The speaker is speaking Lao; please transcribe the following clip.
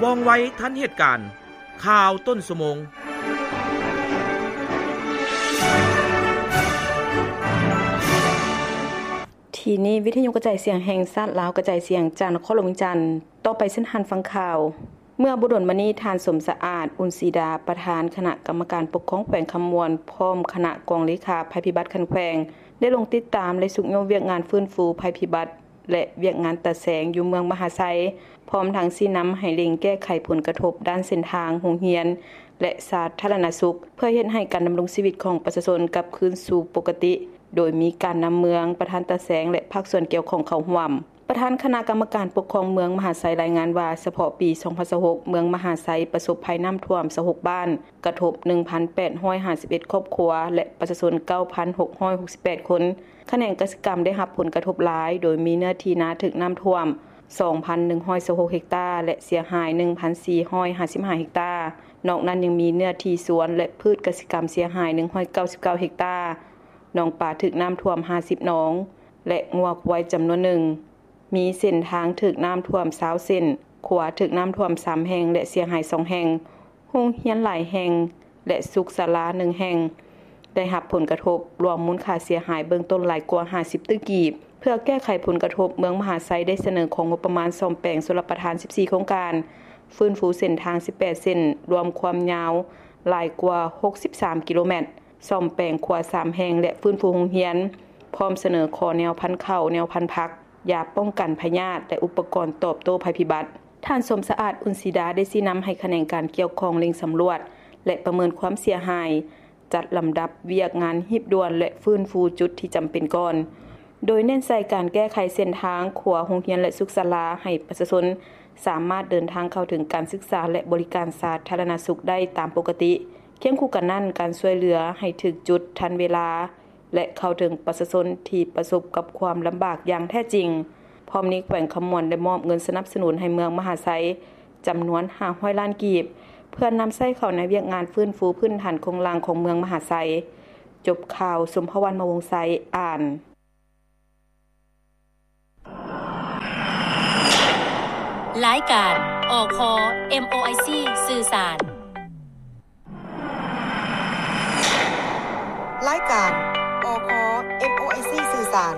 ວ່ອງໄວທັນເຫດການ. ຂ່າວຕົ້ນຊົ່ວໂມງ. ທີ່ນີ້ ວິທະຍຸກະຈາຍສຽງແຫ່ງຊາດລາວ ກະຈາຍສຽງຈາກນະຄອນຫຼວງວຽງຈັນ. ຕໍ່ໄປເຊີນທ່ານຟັງຂ່າວ. ເມື່ອບໍ່ດົນມານີ້ ທ່ານ ສົມສະອາດ ອຸ່ນສີດາ ປະທານຄະນະກຳມະການປົກຄອງແຂວງຄຳມ່ວນ ພ້ອມຄະນະກອງເລຂາໄພພິບັດຂັ້ນແຂວງ ໄດ້ລົງຕິດຕາມ ແລະ ຊຸກຍູ້ວຽກງານຟື້ນຟູໄພພິບັດ ແລະ ວຽກງານຕາແສງຢູ່ເມືອງມະຫາໄຊ, ພ້ອມທັງຊີ້ນຳໃຫ້ເລັ່ງແກ້ໄຂຜົນກະທົບດ້ານເສັ້ນທາງ, ໂຮງຮຽນ ແລະ ສາທາລະນະສຸກ ເພື່ອເຮັດໃຫ້ການດຳລົງຊີວິດຂອງປະຊາຊົນກັບຄືນສູ່ປົກກະຕິ, ໂດຍມີການນຳເມືອງ, ປະທານຕາແສງ ແລະ ພາກສ່ວນກ່ຽວຂ້ອງເຂົ້າຮ່ວມ. ປະທານຄະນະກຳມະການປົກຄອງເມືອງມະຫາໄຊລາຍງານວ່າ ສະເພາະປີສອງພັນຊາວຫົກ ເມືອງມະຫາໄຊປະສົບໄພນ້ຳຖ້ວມຊາວຫົກບ້ານ, ກະທົບໜຶ່ງພັນແປດຮ້ອຍຫ້າສິບເອັດຄອບຄົວ ແລະ ປະຊາຊົນເກົ້າພັນຫົກຮ້ອຍຫົກສິບແປດຄົນ. ຂະແໜງກະສິກຳໄດ້ຮັບຜົນກະທົບຫຼາຍ, ໂດຍມີເນື້ອທີ່ນາຖືກນ້ຳຖ້ວມສອງພັນໜຶ່ງຮ້ອຍຊາວຫົກເຮັກຕາ ແລະ ເສຍຫາຍໜຶ່ງພັນສີ່ຮ້ອຍຫ້າສິບຫ້າເຮັກຕາ. ນອກນັ້ນຍັງມີເນື້ອທີ່ສວນ ແລະ ພືດກະສິກຳເສຍຫາຍໜຶ່ງຮ້ອຍເກົ້າສິບເກົ້າເຮັກຕາ, ໜອງປາຖືກນ້ຳຖ້ວມຫ້າສິບໜອງ ແລະ ງົວຄວາຍຈຳນວນໜຶ່ງ. ມີເສັ້ນທາງຖືກນ້ຳຖ້ວມຊາວເສັ້ນ, ຂົວຖືກນ້ຳຖ້ວມສາມແຫ່ງ ແລະ ເສຍຫາຍສອງແຫ່ງ, ໂຮງຮຽນຫຼາຍແຫ່ງ ແລະ ສຸກສາລາໜຶ່ງແຫ່ງ ໄດ້ຮັບຜົນກະທົບ, ລວມມູນຄ່າເສຍຫາຍເບື້ອງຕົ້ນຫຼາຍກວ່າຫ້າສິບຕື້ກີບ. ເພື່ອແກ້ໄຂຜົນກະທົບ, ເມືອງມະຫາໄຊໄດ້ສະເໜີຂໍງົບປະມານສ້ອມແປງຊົນລະປະທານສິບສີ່ໂຄງການ, ຟື້ນຟູເສັ້ນທາງສິບແປດເສັ້ນ, ລວມຄວາມຍາວຫຼາຍກວ່າຫົກສິບສາມກິໂລແມັດ, ສ້ອມແປງຂົວສາມແຫ່ງ ແລະ ຟື້ນຟູໂຮງຮຽນ, ພ້ອມສະເໜີຂໍແນວພັນເຂົ້າ, ແນວພັນຜັກ, ຢາປ້ອງກັນພະຍາດ ແລະ ອຸປະກອນຕອບໂຕ້ໄພພິບັດ. ທ່ານ ສົມສະອາດ ອຸ່ນສີດາ ໄດ້ຊີ້ນຳໃຫ້ຂະແໜງການກ່ຽວຂ້ອງເລັ່ງສຳຫຼວດ ແລະ ປະເມີນຄວາມເສຍຫາຍ, ຈັດລຳດັບວຽກງານຮີບດ່ວນ ແລະ ຟື້ນຟູຈຸດທີ່ຈຳເປັນກ່ອນ, ໂດຍເນັ້ນໃສ່ການແກ້ໄຂເສັ້ນທາງ, ຂົວ, ໂຮງຮຽນ ແລະ ສຸກສາລາ ໃຫ້ປະຊາຊົນສາມາດເດີນທາງເຂົ້າເຖິງການສຶກສາ ແລະ ບໍລິການສາທາລະນະສຸກໄດ້ຕາມປົກກະຕິ. ຄຽງຄູ່ກັນນັ້ນ, ການຊ່ວຍເຫຼືອໃຫ້ຖືກຈຸດ, ທັນເວລາ ແລະ ເຂົ້າເຖິງປະຊາຊົນທີ່ປະສົບກັບຄວາມລຳບາກຢ່າງແທ້ຈິງ. ພ້ອມນີ້ ແຂວງຄຳມ່ວນໄດ້ມອບເງິນສະໜັບສະໜູນໃຫ້ເມືອງມະຫາໄຊຈຳນວນຫ້າຮ້ອຍລ້ານກີບ, ເພື່ອນຳໃຊ້ເຂົ້າໃນວຽກງານຟື້ນຟູພື້ນຖານໂຄງລ່າງຂອງເມືອງມະຫາໄຊ. ຈົບຂ່າວ, ສົມພະວັນ ມະວົງໄຊ ອ່ານ. ລາຍການ ອຄ ເອັມໂອໄອຊີ ສື່ສານ. ລາຍການ ອຄ ເອັມໂອໄອຊີ ສື່ສານ.